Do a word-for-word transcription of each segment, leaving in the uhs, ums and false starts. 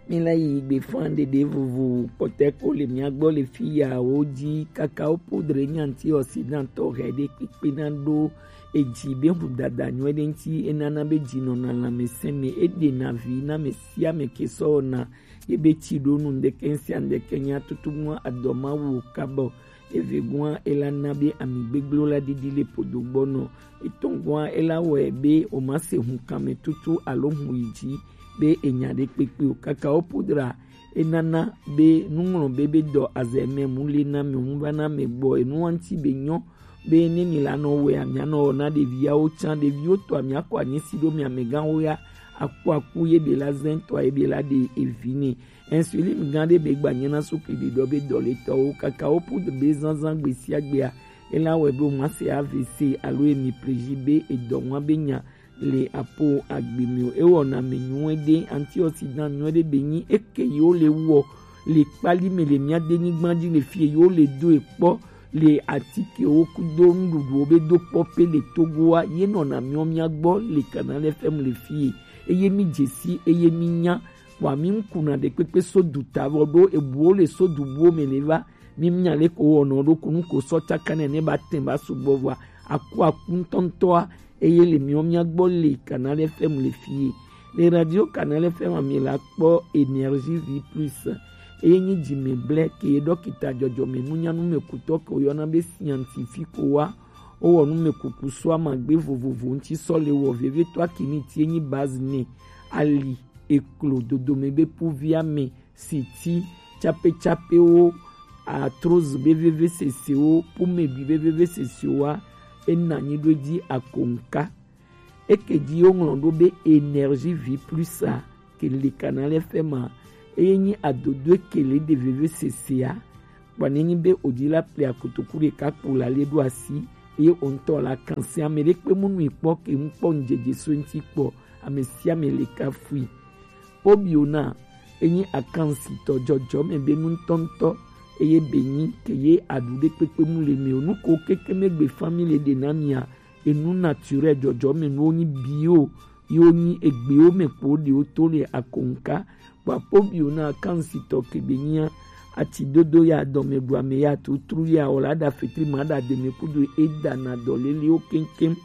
Míla yi gbe fã ɖeɖe vovo kpɔtɛ ko le mía gbɔ le fi ya wo ji. Kakao poudre nyi antioxydant tɔ hɛ ɖe kpekpe na ɖo eji be hu dada nyuie ɖe ŋuti, enana be ji nɔna lãmesẽ me, eɖena vi na ame sia ame ke sɔ wɔna ye be tsi ɖo nu ŋdeke sia ŋdeke nya tutu mɔ adɔ mawu kabɔ. Evegɔa ela na be ami gbegblẽ la ɖiɖi le podo gbɔ nɔ. Etɔ̃gɔa ela wɔe be o ma se hunkame tutu alo hu yi dzi be enya ɖe kpekpe o. Kakao poudre enana be nuŋlɔ be be dɔ azɛ mɛ mu le na mi mu va na mi gbɔ enu ŋuti be nyɔ be ne mi la nɔ wɛ amia nɔ na ɖeviawo tsã ɖeviwo tɔ amia kɔ anyi si ɖo mi amegãwo ya akpɔ aku ye be la zɛn tɔ ye be la ɖe evi ne. Insuline gã ɖe be gba nyina sukli ɖiɖɔ be dɔletɔwo kakao poudre be zazã gbe sia gbea ela wɔe be o ma se A V C alo hémiplégie be edɔ ŋua be nya le apo agbe mi o. Ewɔna mi nyuie ɖe, antioxydant nyuie ɖe be nyi eke yi wo le wɔ le kpali me le mía denyigba dzi le fie yi wo le do ekpɔ le atikewo kudo nuɖuɖuwo be do kpɔ pe le Togoa ye nɔna miɔ mía gbɔ le Canal F M le fie eye mi dzesi eye mi nya wa mi ŋkuna ɖekpekpe so du ta vɔ ɖo ebuwo le so du buwo me le va mi nya le ko wɔnɔ ɖo kunu ko sɔ tsaka ne ne ba tɛn ba sugbɔ vɔa aku aku ŋutɔŋutɔa eye le miɔ mía gbɔ le Canal F M le fie. Le radio Canal F M mi la kpɔ Énergie Vie Plus eye nyi dzime blɛ ke ye dɔkita dzɔdzɔme nunyanu me kutɔ ke woyɔna be scientifique wa wowɔ nu me kuku so amagbe vovovo ŋuti sɔ le wɔ vevie to akini tie nyi base ne ali eklo dodome be puvia me siti, tsapetsapewo, arthrose be vevesesewo, pommeɖui be vevesesewoa, ena anyi ɖo edzi akonka. Eke dzi woŋlɔ ɖo be Énergie Vie Plus a ke le Canal F M a, eye nyi adodoe ke le ɖe vevesesea. Kpɔ ne nyi be o dzi la ple akotoku ɖeka kpo la le ɖo asi, eye o ŋutɔ la kan se ame ɖe kpe mu nui kpɔ ke ŋu kpɔ ŋdzedze so eŋuti kpɔ, ame sia ame le kafui. Pobiona enyi akansitɔ dzɔdzɔme be nu ŋutɔŋutɔ eye be nyi ke ye aɖu ɖe kpekpe mu le mi o nu ko keke megbe family ɖe na mia enu naturel dzɔdzɔme nuwo nyi bio yiwo nyi egbewo me kpo ɖewo to le akonka kpakpo biona akansitɔ ke be nyia ati dodo ya dɔme ɖu ame ya tutru ya o la ɖa fetri ma ɖa deme kudo eda na dɔ lelewo keŋkeŋ.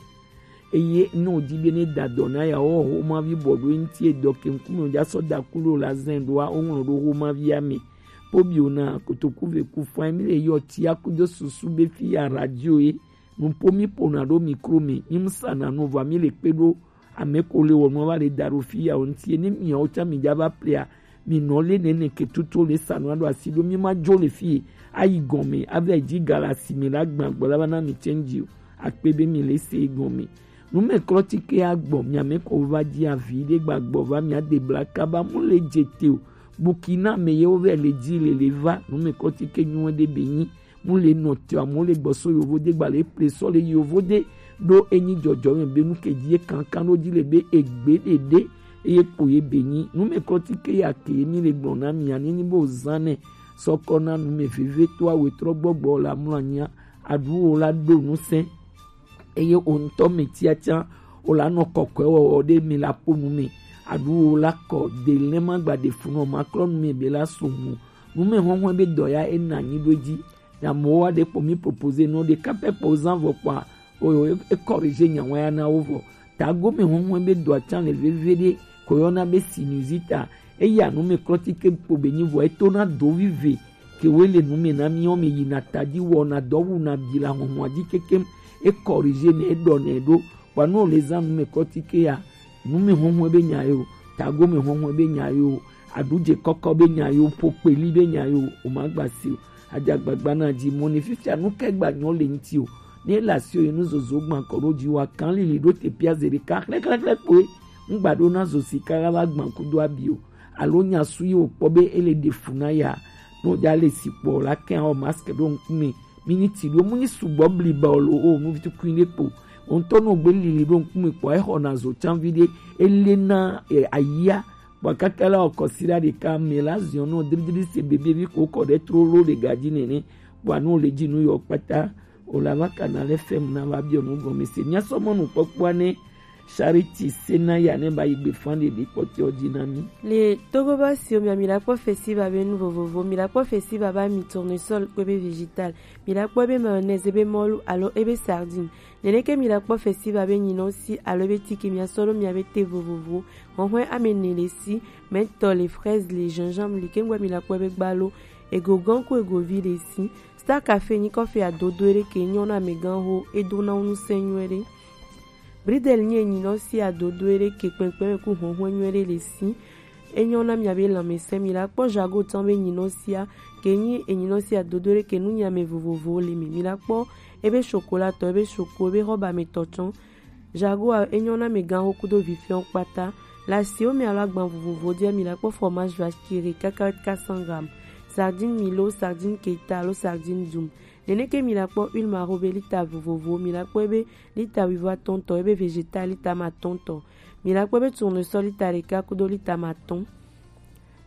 Eye ne wòdi be ne da dɔ na ya, woawo xomavi bɔ ɖo eŋuti edɔ ke ŋkume wòdza sɔ da ku ɖo la zɛn ɖoa, woŋlɔ ɖo xomavia me. Kpobiwo na kotoku ve ku fã mi le yɔ tia kudo susu be fi ya radio ye. Nuƒo mi ƒona ɖo mikro me, mi mu sana nu vɔa mi le kpe ɖo ame ko le wɔ nua va le da ɖo fi ya o ŋuti. Ne miawo tsã mi dza va plea, mi nɔ le nene ke tutu le sa nua ɖo asi ɖo mi ma dzo le fi ye. Ayi gɔme ave dzi ga le asi me la gbã gbɔ la va na mi change o. Akpe be mi le se gɔme. Numɛklɔtike agbɔ miame kɔ va dzi avi ɖe gbagbɔ va mia de bla kaba mu le dze te o. Bukina me ye wo vɛ le dzi le le va numɛklɔtike nyuie ɖe be nyi mu le nɔ te amewo le gbɔsɔ yovo de gba le ple sɔ le yovo de ɖo enyi dzɔdzɔ me be nu ke dzi ye kankan ɖo dzi le be egbe ɖe ɖe eye kpo ye be nyi numɛklɔtike ya ke ye mi le gblɔ na mia ne nyi be o zan nɛ sɔkɔ na nu me veve to awe trɔ gbɔgbɔ la mlɔ anyia aɖu wo la ɖo nu sɛn. Eye wò ŋutɔ me tiatia wò la nɔ kɔkɔe wɔwɔ ɖe mi la ƒo nu me aɖu wo la kɔ de lɛ ma gba de fu nɔ ma klɔ nu me be la so mu nu me hɔhɔe be dɔ ya e na nyi ɖo dzi ya mo wa ɖe kpɔ mi propose nɔ ɖe kapɛ kpɔ zan vɔ kpɔa o e corrige nya wa ya na wo vɔ tago me hɔhɔe be dɔ atsa le veve ɖe ko yɔna be sinusite a eya nu me klɔti ke kpo be nyi vɔ e to na do vive ke woe le nu me na miwo me yina ta dzi wɔna dɔ wuna bi le ahɔhɔa dzi kekem. E corrige nɛ, e ɖɔ nɛ ɖo. Kpɔa ne wòle zã nu me kɔtike ya, nu me hɔhɔe be nya ye o, tago me hɔhɔe be nya ye o, aɖudze kɔkɔ be nya ye o, ƒokpeli be nya ye o, wòmagba si o. Adze agbagba na dzi mɔ ne fifia nu kae gba nyɔ le ŋuti o. Ne ele asi o, ye nu zozo gbã kɔ ɖo dzi wa kan lili ɖo te pia ze ɖeka xlɛxlɛxlɛ kpoe. Ŋgba ɖo na zo sika la va gbã kudo abi o. Alo nya su yi wòkpɔ be ele ɖe fu na ya. Ne wòdza le si kpɔ la kɛn awɔ mask ɖo ŋkume. Mi nyi ti ɖo mu nyi sugbɔ bliba o lo o nu vitukui ɖe kpo. Wo ŋutɔ ne wògbe lili ɖo ŋkume kpɔ exɔna zo tsanvi ɖe ele na e, ayia. Kpɔ kaka la wɔ kɔsiɖa ɖeka me la ziɔ nɔ dridri se bebe vi ko kɔ ɖe trolo ɖe gadzi nene. Kpɔ anu le dzi nu yɔ kpata. O la va kana le fɛm na va biɔ nu gɔme se. Mia sɔ mɔnu kpɔkpɔa ne Charity Senaya ne ba yi gbe fan de bi kpɔtɔ di na mi. Le Togo ba si o mi a mi la kpɔ festival be nu vovovo, mi la kpɔ festival ba mi tournesol kpe be vegetal, mi la kpɔ be mayonnaise be mɔlu alo ebe sardine. Nene ke mi la kpɔ festival be nyinɔ si alo be tiki mi a sɔlo mi a be te vovovo. Hɔhɔe ame ne le si, mentol, le fraise, le gingembre, le kengbe mi la kpɔ be gbalo, ego gan ku ego vi le si. Star Café nyi kɔfi adodo ere ke nyɔ na me gan ho, edo na unu se nyuɛ ɖe. Bridel nyi enyinɔ si adodo ere ke kpɛnkpɛn ku hɔnhɔn nyuɛ ɖe le si. Enyɔ na mia be lanmɛsɛn mi la kpɔ jago tɔn be nyinɔ sia ke nyi enyinɔ si adodo ere ke nu nya me vovovo le mi. Mi la kpɔ ebe chocolat tɔ, ebe choco, ebe robe me tɔ tsɔn. Jago a enyɔ na me gan ho kudo vifiɔ kpata. La si o mi alo agban vovovo dia mi la kpɔ fromage vache qui rit, cacahuète quatre cents grammes. Sardine milo, sardine keta alo sardine dum. Nene ke mi la kpɔ huile maro be lita vovovo, mi la kpɔ ebe lita wivo atɔntɔ, ebe vegetal lita matɔntɔ. Mi la kpɔ ebe tournesol lita ɖeka kudo lita matɔn.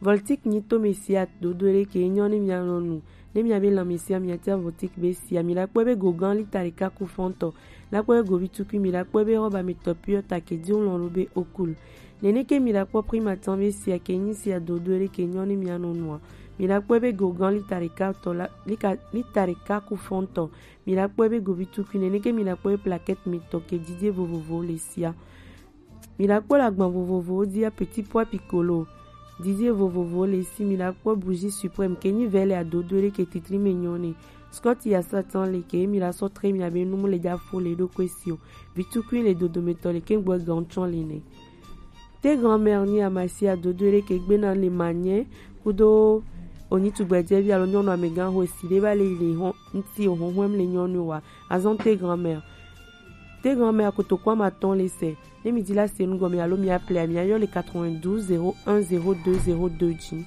Voltic nyi to me sia dodo ɖe ke nyɔ ne mia nɔ nu. Ne mia be lanmɛsɛn mia tia Voltic be sia, mi la kpɔ ebe gogan lita ɖeka ku fɔntɔ. La kpɔ ebe govi tukui, mi la kpɔ ebe robe me tɔ pure ta ke di lɔn lo be okul. Nene ke mi la kpɔ prima tɔn be sia ke nyi sia dodo ɖe ke nyɔ ne mia nɔ nua. Mi la kpɔ ebe gogan lita ɖeka tɔ la, lika, lita ɖeka ku fɔntɔ. Mi la kpɔ ebe govi tukui, nene ke mi la kpɔ ebe plaquette mi tɔ ke didie vovovo le sia. Mi la kpɔ le agban vovovowo dia petit pois piccolo. Didie vovovo le si, mi la kpɔ bougie suprême ke nyi vɛ le adodo ɖe ke titri me nyɔ ne. Scott ya satan le ke mi la sɔ tre mi abe numu le ja fo le ɖo kwe si o. Vi tukui le dodo me tɔ le ke gbɔ gan tsɔn le ne. Te grand-mère nyi amasia dodo ɖe ke gbe na le manyɛ kudo onyi tugbɛjɛvi alo nyɔnu amegan ho esi ɖe va le yi le hɔn ŋti o hɔn hɔn le nyɔnu wa. Azɔn te grand-mère. Te grand-mère kotoku amatɔn le sɛ. Ne mi di la se nu gɔme alo mi appelé mi ayɔ le quatre-vingt-douze zéro un zéro deux zéro deux dzi.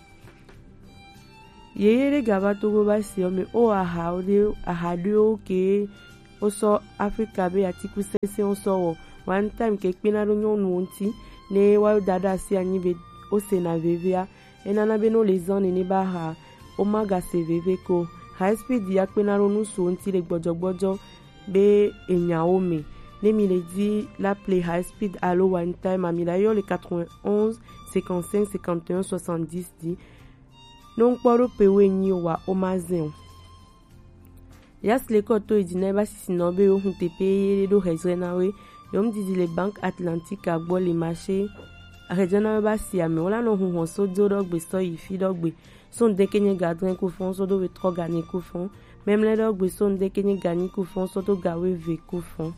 Yeye ɖe gava Togo ba si o me o aha ɖe aha ɖewo ke o sɔ Afrika be atiku sɛnsɛn o sɔ wɔ. One time ke kpena ɖo nyɔnuwo ŋti ne wa da ɖe asi anyi be o se na vevea. Enana be no le zan nene ba ha o ma ga se veve ko. High speed ya kpena ɖo nu so ŋti le gbɔdzɔgbɔdzɔ be enyawo me. Ne mi le di la play high speed alo one time a mi la yɔ le quatre-vingt-onze cinquante-cinq cinquante et un soixante-dix di. No ŋkpɔ ɖo pe wo enyi wa o ma zɛn o. Yas le kɔ to yi di na ba sisi na be yo hun tepe ye ɖo hezre na we. Yo mu didi le Banque Atlantique agbɔ le marché. Ahedzɔ na we ba si ame wo la nɔ hun hɔn so do ɖɔ gbe sɔ yi fi ɖɔ gbe. So ŋdeke nye gadrɛn ku fɔn so do we trɔ gani ku fɔn. Mɛmlɛ ɖɔ gbe so ŋdeke nye ganyi ku fɔn so do gawe ve ku fɔn.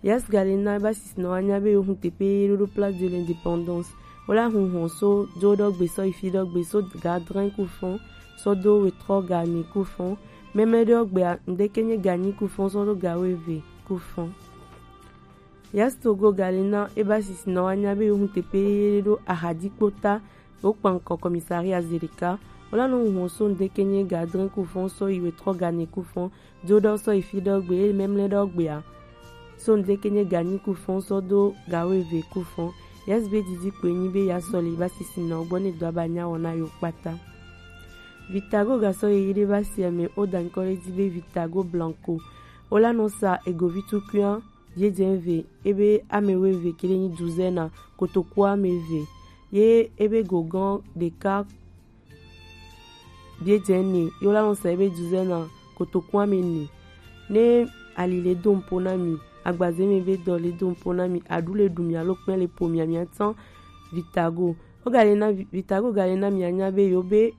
Yas galina ba sisi na wa nya be yo hun tepe ye ɖo ɖo Place de l'Indépendance. Wo la hun hɔn so do ɖɔ gbe sɔ yi fi ɖɔ gbe so gadrɛn ku fɔn so do we trɔ gani ku fɔn. Mɛmlɛ ɖɔ gbe ŋdeke nye ganyi ku fɔn so do gawe ve ku fɔn. Yas Togo galina e ba sisi na wa nya be yo hun tepe ye ɖo ahadi kpota. Wo kpan kɔ commissariat Zedeka. Wo la nɔ hun hɔn so ŋdeke nye gadrɛn ku fɔn so yi we trɔ gani ku fɔn. Do ɖɔ sɔ yi fi ɖɔ gbe e mɛmlɛ ɖɔ gbea. So ŋdeke nye ganyi ku fɔn so do gawe ve ku fɔn. Yas be didi kpe nyi be ya sɔ le ba sisi na wo gbɔ ne do aba nya wɔ na yo kpata. Vitago ga sɔ ye yi ɖe ba si ame o da ŋkɔ ɖe di be Vitago Blanco. Wo la nɔ sa egovi tukuia. Biedzɛ ve ebe ame weve kele nyi duzɛna kotoku ame ve ye ebe gogan ɖeka biedzɛ ne ye wo la nɔ sa ebe duzɛna kotoku ame ne. Ne ali le do ŋpo na mi, agbaze me be dɔ le do ŋpo na mi, aɖu le ɖu mi alo kpɛ le po mi a mi a tsan Vitago. Wo ga le na Vi- Vitago ga le na mi a nya be yo be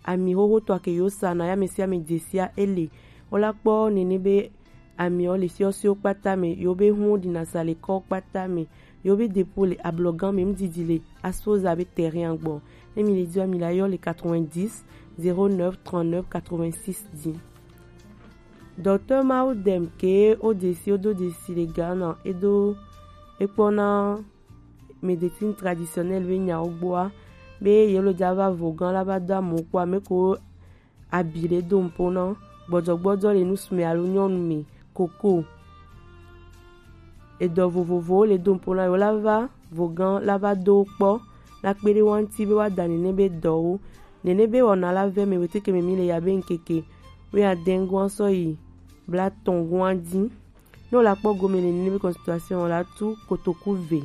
ami xoxo tɔ ke yo sa na ya me sia me dze sia ele. Wo la kpɔ nene be ami o le fiɔsiwo kpata me, yo be hun ɖi na sa le kɔ kpata me, yo be depo le ablɔgan me, ŋdidi le aspoza be terrain gbɔ. Ne mi le di wa mi la yɔ le quatre-vingt-dix zéro neuf trente-neuf quatre-vingt-six dix. Docteur Maudem ke o desi o do desi le Ghana e do e kpɔ na médecine traditionnelle be nyawo gbɔa be yelo dza va vogan la va do amewo kpɔ ame ko abi le do ŋpo na gbɔdzɔgbɔdzɔ le nusu me alo nyɔnu me koko edɔ vovovowo le do ŋpo na yo la va vogan la va do kpɔ la kpe ɖe wa ŋti be wa da nene be dɔwo nene be wɔna la vɛ me weteke me mi le ya be ŋkeke wɛ adɛn gɔn sɔ yi bla tɔn gɔn di. Ne o la kpɔ gome le nene be consultation, o la tu kotoku ve.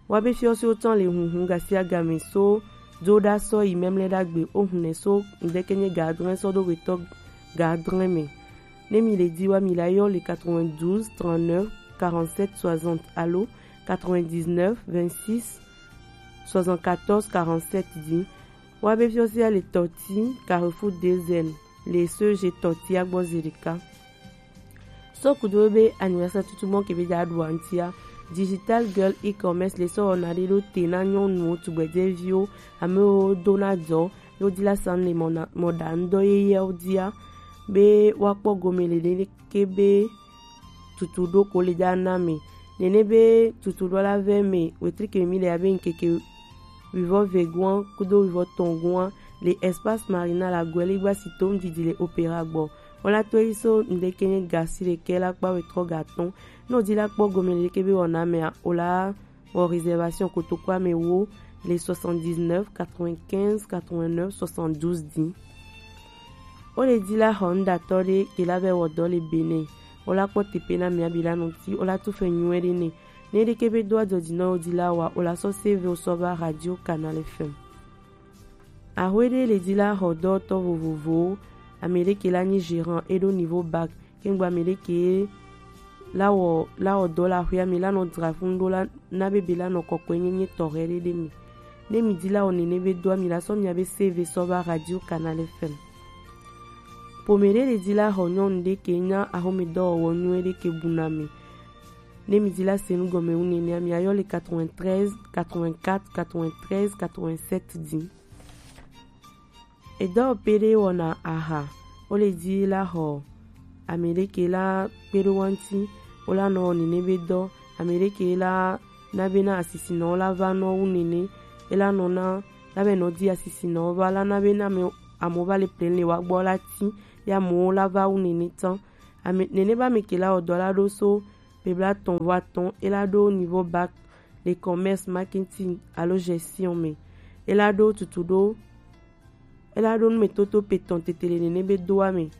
Wa be fiɔ si o tɔn le hunhun gasi agame so do da sɔ yi mɛmlɛ dagbe o hun nɛ so ŋdɛkɛ nye gadrɛn sɔ do wetɔ gadrɛn mɛ. Ne mi le di wa, mi la yɔ le quatre-vingt-douze trente-neuf quarante-sept soixante alo quatre-vingt-dix-neuf vingt-six soixante-quatorze quarante-sept di. Wa be fiɔ si a le Tɔti, Carrefour des Jeunes, le C E G Tɔti agbɔ zedeka. So kudo be anniversaire tutu mɔ ke be da ɖu antia. Digital Girl E-commerce le sɔ wɔna ɖe ɖo te na nyɔnuwo, tugbɛjɛviwo, amewo do na dɔ, yo di la san le mɔ na mɔ ɖa ŋdɔ yeyɛwo dia be wa kpɔ gome le ɖe ke be tutu ɖo ko le da na me. Nene be tutu ɖo la vɛ me wetri ke mi le abe ŋkeke wivɔ ve guan kudo wivɔ tɔn guan le Espace Marina la guɛ le gba si tom didi le Opéra gbɔ. Wala to yi so ŋdɛkɛ nye gasi ɖekɛ la kpa wetrɔ gatɔn. Ne o di la kpɔ gome le ke be wɔna mea, o la wɔ réservation kotoku ame wo le soixante-dix-neuf quatre-vingt-quinze quatre-vingt-neuf soixante-douze di. O le di la xɔ ŋdatɔ ɖe ke la vɛ wɔ dɔ le Benin. O la kpɔ tepe na mia bi la nɔ ti, o la tu fɛ nyuɛ ɖe ne. Ne ɖe ke be do adzɔ di na o di la wa, o la sɔ C V o sɔ va Radio Canal F M. Ahwe ɖe le di la xɔ dɔtɔ vovovowo. Ame ɖe ke la nyi gérant e ɖo niveau bac. Kengba ame ɖe ke la wɔ la wɔ dɔ la xwe ame la nɔ dra fun ɖo la na be be la nɔ kɔkɔe nyenye tɔxɛ ɖe ɖe mi. Ne mi di la wɔ nene be do ami la sɔ mia be C V sɔ va Radio Canal F M. Pome ɖe le di la xɔ nyɔnu ɖe ke nya axome dɔwɔwɔ nyuie ɖe ke bu na mi. Ne mi di la se nu gɔme wu nene ami ayɔ le quatre-vingt-treize quatre-vingt-quatre quatre-vingt-treize quatre-vingt-sept di. Edɔ pe ɖe wɔna aha, wo le di la xɔ ame ɖe ke la kpe ɖo wa ŋuti, wo la nɔ wɔ nene be dɔ, ame ɖe ke la na be na asisinɔwo la va nɔ wu nene, e la nɔ na la be nɔ di asisinɔwo va la na be na ame amewo va le plein le wa gbɔ la ti ya amewo la va wu nene tɔn. Ame nene be ame ke la wɔ dɔ la ɖo so be blatɔn vɔ atɔn, e la ɖo niveau bac le commerce marketing alo gestion me. E la ɖo tutu ɖo e la ɖo numetoto pe tɔn tete le nene be doa me.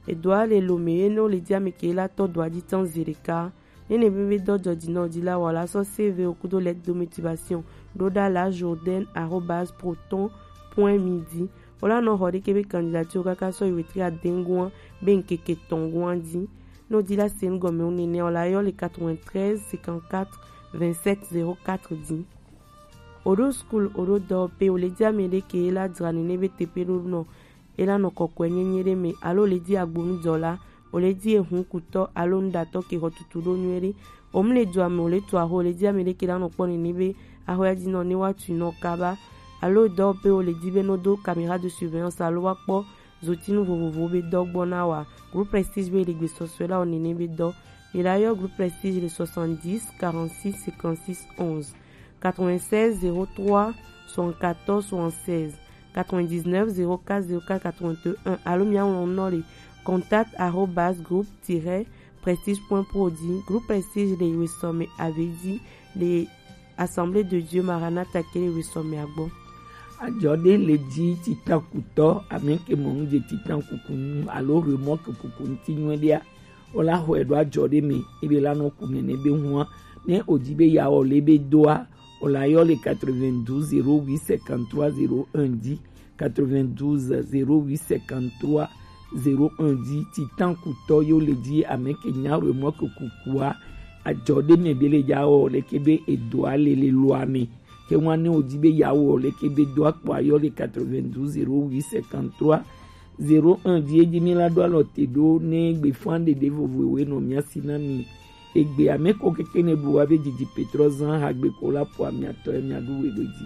Edoa le lo me ye ne wo le di ame ke la tɔ doa dzi tɔn zi ɖeka. Ne ne be be dɔ dɔ dzi na o di la wa la sɔ C V o kudo lettre de motivation ɖo ɖa la Jourdain arobase proton point me di. Wo la nɔ xɔ ɖe ke be candidature kaka sɔ yi wetri adengua be ŋkeke tɔngua di. Ne o di la se nu gɔme o nene o la yɔ le quatre-vingt-treize cinquante-quatre vingt-sept zéro quatre di. O ɖo school o ɖo dɔwɔƒe o le di ame ɖe ke la dzra nene be teƒe ɖo nɔ e la nɔ kɔkɔe nyenye ɖe me alo o le di agbonudɔla o le di ehun kutɔ alo nuɖatɔ ke xɔ tutu ɖo nyuie ɖe. O mu le dua me o le tu axɔ o le di ame ɖe ke la nɔ kpɔ nene be axɔ ya dzi nɔ ne wa tui nɔ kaba alo dɔwɔƒe o le di be nɔ do caméra de surveillance alo wa kpɔ zotinu vovovowo be dɔ gbɔ na wa. Groupe Prestige be le gbesɔsɔe la o nene be dɔ. Mi la yɔ Groupe Prestige le soixante-dix quarante-six cinquante-six onze, quatre-vingt-seize zéro trois soixante-quatorze soixante-seize, quatre-vingt-dix-neuf zéro quatre zéro quatre quatre-vingt-un alo mi aŋlɔ nɔ le contact arobase groupe tiret prestige point pro di. Groupe Prestige le wesɔme ave di le Assemblée de Dieu Maranatha ke le wesɔmea gbɔ. Ajɔ ɖe le dzi titakutɔ ame ke mɔ nu dze titan kuku nu alo remɔke kuku ŋuti nyuie ɖea, o la xɔe ɖo ajɔ ɖe me ebe la nɔ ku nene be hua. Ne o di be ya wɔ le be doa, o la yɔ le quatre-vingt-douze zéro huit cinquante-trois zéro un di. Quatre-vingt-douze zéro huit cinquante-trois zéro un di. Titan kutɔ yo le di ame ke nya remɔke kukua ajɔ ɖe me be le ya wɔ le ke be edoa le le loa me. Ke ŋua ne o di be ya wɔ le ke be do akpɔ ayɔ le quatre-vingt-douze zéro huit cinquante-trois zéro un di. Edzi mi la ɖo alɔ te ɖo ne gbe fã ɖeɖe vovovoe nɔ mia si na mi. Egbe ame ko keke ne bu wa be didi petrɔ zan hagbe ko la po amia tɔ ya mia ɖu we ɖo dzi.